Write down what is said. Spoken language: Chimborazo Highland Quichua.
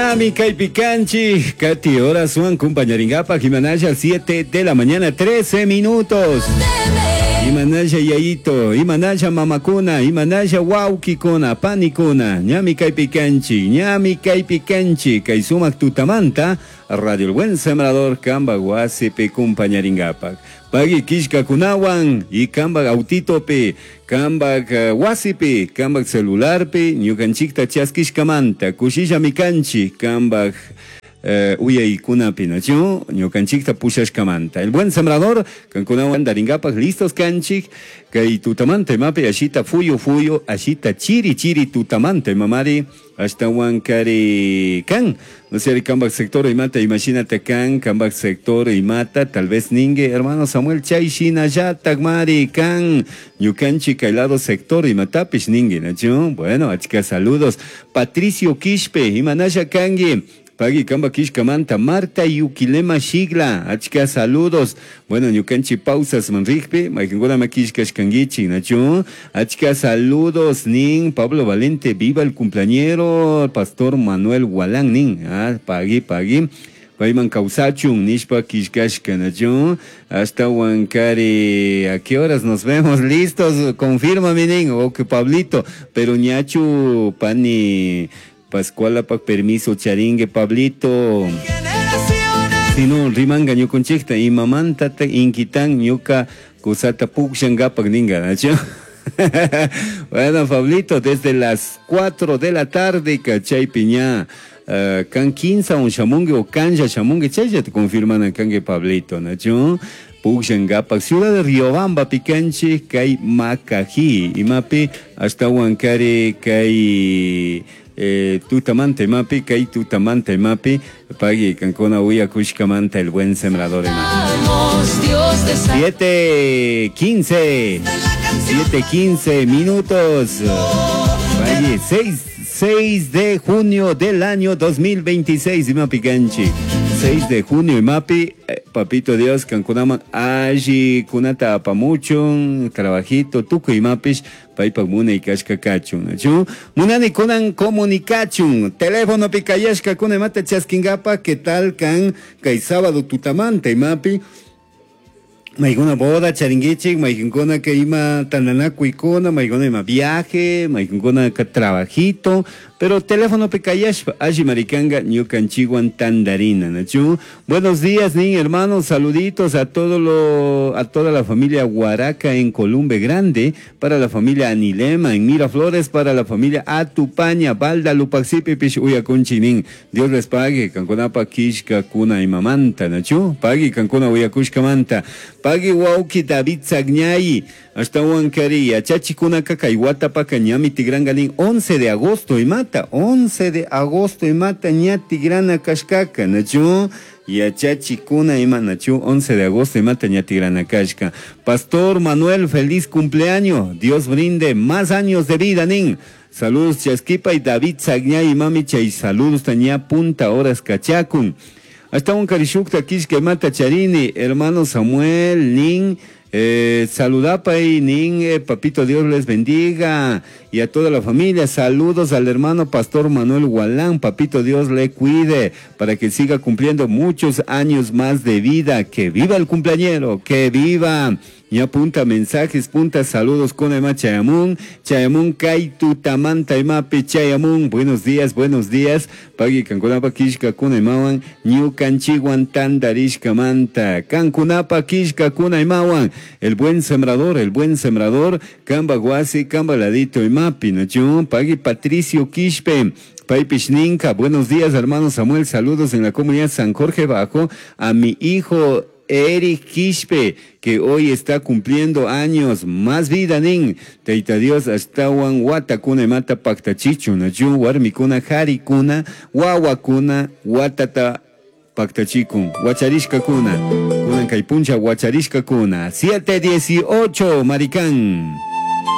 Ñami kaypi kanchik, kati horaswan kumpañarinkapak imanalla 7 de la mañana 13 minutos. Imanalla yayito, imanalla mamakuna, imanalla wawkikuna, panikuna, ñami kaypi kanchik, ñami kaypi kanchik, kay sumak tutamanta Radio El Buen Sembrador kamba wasipi kumpañarinkapak. Pagui killkakunawan y kambak autitopi, kambak wasipi, kambak celularpi, ñukanchikta chaskishkamanta, kushillami kanchik, kambak uyaykunapi, nachu? Ñukanchikta pushashkamanta. El Buen Sembrador, kankunawan darinkapak listos kanchik, kay tutamanta imapi ashita fuyu fuyu, ashita chiri chiri tutamanta imamari, ashtawan kari kan. No sé, kambak sector imata, imagínate kan, kambak sector imata, tal vez ningue, hermano Samuel chay shinallatak mari kan, ñukanchik kay lado sector imatapish ningue, nachu? Bueno, achka saludos. Patricio Quispe, imanalla kangi. Pagui kamba kishkamanta, Marta Yuquilema Shigla, achka saludos. Bueno, ñukanchi pausas manrikpi, mayqinkuna makishkashkankichik, nachu? Achka saludos, nin Pablo Valente, viva el cumpleañero, Pastor Manuel Gualán, nin, ah, pagui, pagui. Payman kawsachun, nishpa kishkashka, nachu? Hasta Huancari, ¿a qué horas nos vemos? Listos, confirma, mi nin, ok, Pablito, pero ñachu, pani... Pascuala pak permiso charingue Pablito. Si no, rimanga ñukunchikta imamanta inquitan ñuka kusata pukshangapak ninga, nachu? Bueno, Pablito, desde las 4 de la tarde, cachaypi ña, kan 15 un shamungue o kanja shamungue, chaylla te confirman kangue Pablito, nachu? Pukshangapak, ciudad de Riobamba, Picanche, kay Macají, imapi, hasta Huancari, kay... tutamanta imapi, kay tutamanta imapi, pagui kankuna uyakushkamanta el buen sembrador imapi. 7:15, 7:15 minutos. Pagui, 6 de junio del año 2026, imapi kanchi. 6 de junio imapi, papito Dios, kankunaman alli kunata apamuchun, trabajito, tukuy imapish, paypak munay kashka kachun, nachu? Munani kunan comunicachun, teléfono pi kayashka kuna imata chaskinkapa, ¿qué tal kan kay sábado tutamanta imapi? Maykuna boda charinkichik, maykinkuna que ima tandanakuykuna, maykuna ima viaje, maykinkuna ka trabajito, pero teléfono pi kayashpa, alli maricanga ñukanchikwan tandarina, nachu? Buenos días, nin hermanos, saluditos a a toda la familia Huaraca en Columbe Grande, para la familia Anilema en Miraflores, para la familia Atupaña, Balda, Lupaxipi, Pish, Uyakunchi, nin. Dios les pague, kankunapa kishka kuna imamanta, nachu? Pague kankuna uyakushkamanta. Pagui wauki David Sagñay, hasta Huancarí, achachikunaka kay watapaka ñami tigrangalin 11 de agosto imata, 11 de agosto imata ña tigrana kashkaka, nachu? Yachachikuna ima, nachu, 11 de agosto imata ña tigrana kashka. Pastor Manuel, feliz cumpleaños, Dios brinde más años de vida, nin. Saludos Chasquipa y David Sagñay, mami chay, saludos taña punta horas kachakun. Hasta un karishukta kishka mata charini, hermano Samuel, nin, saludapa y nin, papito Dios les bendiga y a toda la familia. Saludos al hermano Pastor Manuel Gualán, papito Dios le cuide para que siga cumpliendo muchos años más de vida. Que viva el cumpleañero, que viva. Y apunta mensajes, punta saludos con Ema Chayamun, Chayamun Kaitu Tamanta Emape Chayamun. Buenos días, buenos días. Pagui Cancunapa Kishka Kunaimawan, Ñukanchiwan Tandarishka Manta. Cancunapa Kishka Kunaimawan. El buen sembrador, el buen sembrador, Kamba Guasi, Kamba Ladito Emapi, Nachun, Pagui Patricio Quispe. Paipish Ninka, buenos días, hermano Samuel, saludos en la comunidad San Jorge Bajo, a mi hijo Eric Quispe, que hoy está cumpliendo años, más vida, nin. Teita Dios, ashtawan watakuna imata paktachichu, nachu, warmikuna, harikuna, wawakuna, watata paktachikun, wacharishkakuna, kunan kay puncha wacharishkakuna. 7:18, maricán.